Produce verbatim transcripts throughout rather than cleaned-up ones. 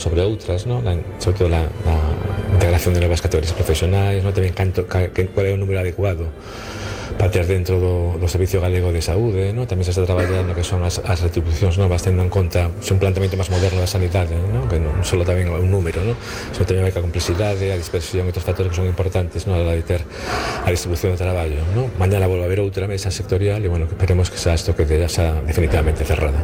sobre outras, ¿no? La, sobre todo la, la integración de novas categorías profesionais, ¿no? Tamén canto, ca, que, cuál é o número adecuado para ter dentro do, do Servicio Galego de Saúde, ¿no? Tamén se está traballando que son as, as retribucións novas, tendo en conta un planteamento máis moderno da sanidade, ¿no? Que non só tamén un número, ¿no? Sino tamén hai a complexidade, a dispersión e outros factores que son importantes, ¿no? A la de ter a distribución do traballo, ¿no? Mañana volve a haber outra mesa sectorial e, bueno, esperemos que xa isto que ya xa definitivamente cerrada.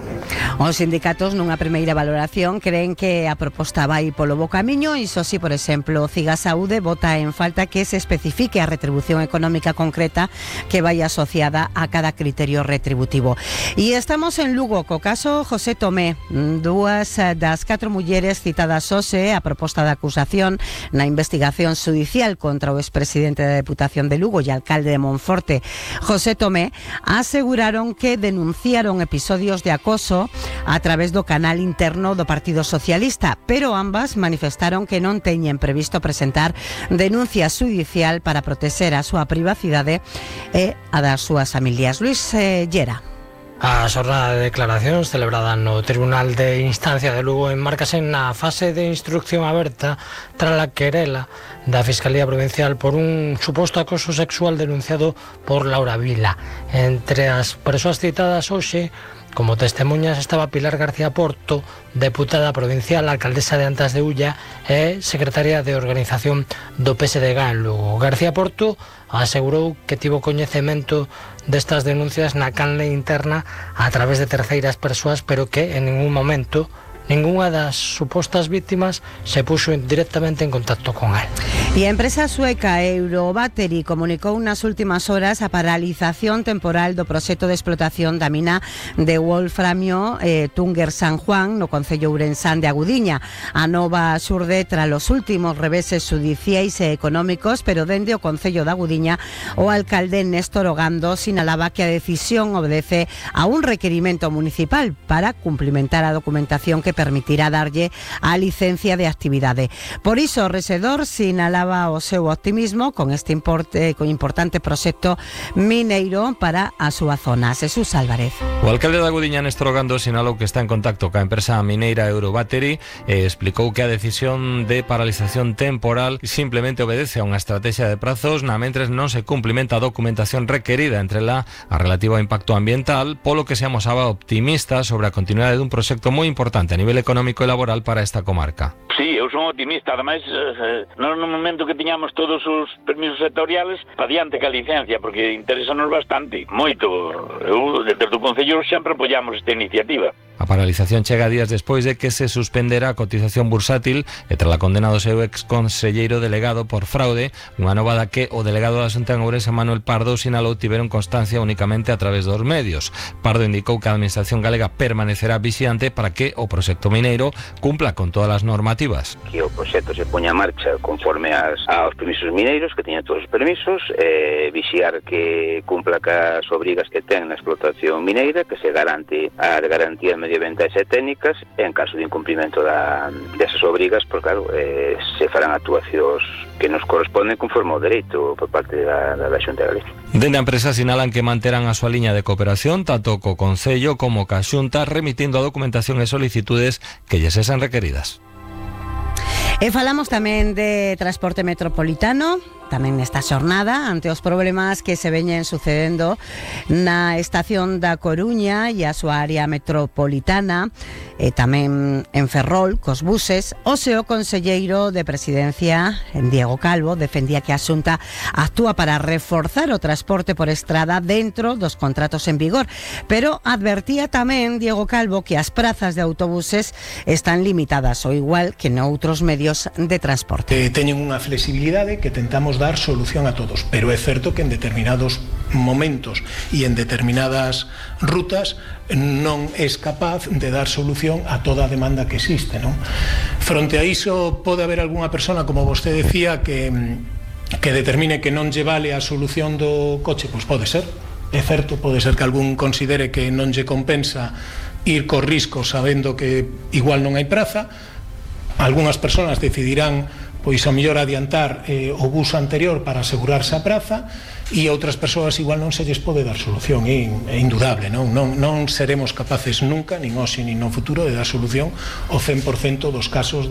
Os sindicatos nunha primeira valoración creen que a proposta vai polo bo camiño, iso si, por exemplo, Ciga Saúde vota en falta que se especifique a retribución económica concreta que vai asociada a cada criterio retributivo. E estamos en Lugo co caso José Tomé, dúas das catro mulleres citadas hoxe a proposta de acusación na investigación judicial contra o expresidente da Deputación de Lugo e alcalde de Monforte, José Tomé, aseguraron que denunciaron episodios de acoso a través do canal interno do Partido Socialista, pero ambas manifestaron que non teñen previsto presentar denuncia judicial para protexer a súa privacidade e a das súas familias. Luis eh, Llera. A xornada de declaracións celebrada no Tribunal de Instancia de Lugo enmárcase na fase de instrucción aberta tras a querela da Fiscalía Provincial por un suposto acoso sexual denunciado por Laura Vila. Entre as persoas citadas hoxe como testemunhas estaba Pilar García Porto, deputada provincial, alcaldesa de Antas de Ulla e secretaria de organización do P S D G en Lugo. García Porto asegurou que tivo coñecemento destas denuncias na canle interna a través de terceiras persoas, pero que en ningún momento ningunha das supostas víctimas se puxo directamente en contacto con él. E a empresa sueca Eurobattery comunicou nas últimas horas a paralización temporal do proxecto de explotación da mina de wolframio eh, Túnger San Juan no concello ourensán de Agudiña. A nova xurde tras os últimos reveses judiciais e económicos, pero dende o concello de Agudiña o alcalde Néstor Ogando sinalaba que a decisión obedece a un requerimento municipal para cumplimentar a documentación que permitirá darlle a licencia de actividade. Por iso, o rexedor sinalaba o seu optimismo con este importe, con importante proxecto mineiro para a súa zona. Jesús Álvarez. O alcalde de Agudiña, Néstor Ogando, sinalou que está en contacto ca empresa mineira Eurobattery e explicou que a decisión de paralización temporal simplemente obedece a unha estrategia de prazos na mentres non se cumplimenta a documentación requerida, entre la a relativa ao impacto ambiental, polo que se amosaba optimista sobre a continuidade dun proxecto moi importante a nivel económico e laboral para esta comarca. Sí, eu son optimista, ademais eh, no momento que tiñamos todos os permisos sectoriales pa diante ca licencia, porque interesanos bastante, moito. Eu, desde o Concello, sempre apoiamos esta iniciativa. A paralización chega días despois de que se suspendera a cotización bursátil e tras a condena do seu ex conselleiro delegado por fraude, unha nova da que o delegado da Xunta en Ourense, Manuel Pardo, sinalou tiveron constancia únicamente a través dos medios. Pardo indicou que a Administración galega permanecerá vixiante para que o proxecto mineiro cumpla con todas as normativas. Que o proxecto se poña a marcha conforme as, aos permisos mineiros, que teña todos os permisos, eh, vixiar que cumpla cas obrigas que ten na explotación mineira, que se garante a garantía medioambientais e técnicas, e en caso de incumprimento da, desas obrigas, pues claro, eh, se farán actuacións que nos corresponden conforme ao dereito por parte da, da, da Xunta Galega. Dende a empresa sinalan que manterán a súa liña de cooperación tanto co Concello como ca Xunta, remitindo a documentación e solicitudes que lles sexan requeridas. E falamos tamén de transporte metropolitano, tamén nesta xornada, ante os problemas que se veñen sucedendo na estación da Coruña e a súa área metropolitana, e tamén en Ferrol, cos buses. Hoxe o conselleiro de Presidencia, Diego Calvo, defendía que a Xunta actúa para reforzar o transporte por estrada dentro dos contratos en vigor, pero advertía tamén Diego Calvo que as prazas de autobuses están limitadas, ao igual que noutros medios de transporte. Eh, teñen unha flexibilidade que tentamos dar solución a todos, pero é certo que en determinados momentos e en determinadas rutas non es capaz de dar solución a toda a demanda que existe, non? Fronte a iso pode haber algunha persona, como vostede decía, que, que determine que non lle vale a solución do coche, pois pode ser, é certo, pode ser que algún considere que non lle compensa ir co risco sabendo que igual non hai praza. Algúnas persoas decidirán pois a mellor adiantar eh, o bus anterior para asegurarse a praza, e outras persoas igual non se lles pode dar solución, é, é indudable, non? Non, non seremos capaces nunca, nin hoxe nin no futuro, de dar solución ao cen por cento dos casos de